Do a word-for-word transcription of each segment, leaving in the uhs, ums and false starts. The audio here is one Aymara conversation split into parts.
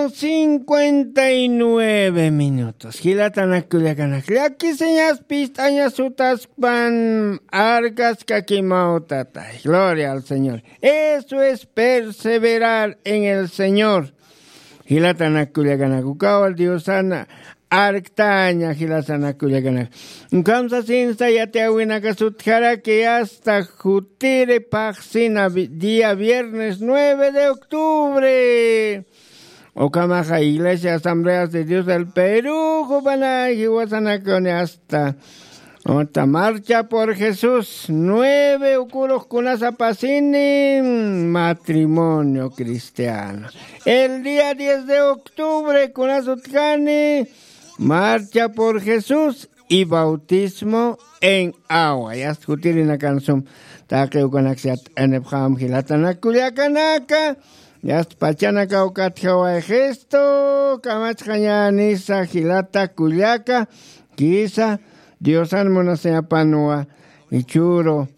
cincuenta y nueve minutos. Jilatanak kullakanak, llakisiñas pist'añas sutaskpan, arkaskakimaw tatay. Gloria al Señor. Eso es perseverar en el Señor. Jilatanak kullakanak, ukawa Diosana arktaña. Jilatanak kullakanak, ukham sasinsa yatiyäwinaka sutjaraki hasta jutiri phaxsina vi- día viernes nueve de octubre. Ukhamaxa Iglesia Asambleas de Dios del Perú jupanay jiwasanakuni hasta, hasta Marcha por Jesús nueve ukurux kunasapasini, matrimonio cristiano. El día diez de octubre kunasutjani, Marcha por Jesús y bautismo en agua. Yast jutirinakan sum taqi ukanaksa yat'anipxam jilatanak kullakanaka. Yast pachanakaw katjaway Jesto kamachxañänisa jilata kullaka. Kisa Diosan munasiñapanwa, ichhüru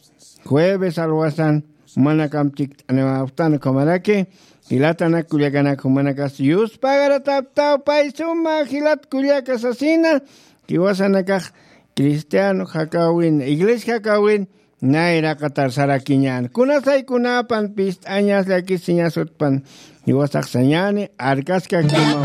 jueves alwasan jumanakam chikt'aniwapxtan ukhamaraki. Jilatanak kullakanak, jumanakas yuspagarapxtaw pay suma jilat kullaka sasina. Jiwasanakax cristiano jakäwin, iglesia jakäwin nayraqatar sarakiñän. Kunasay kunapan pist'añas llakisiñas utpan, jiwasax sañäni arkaskakimaw.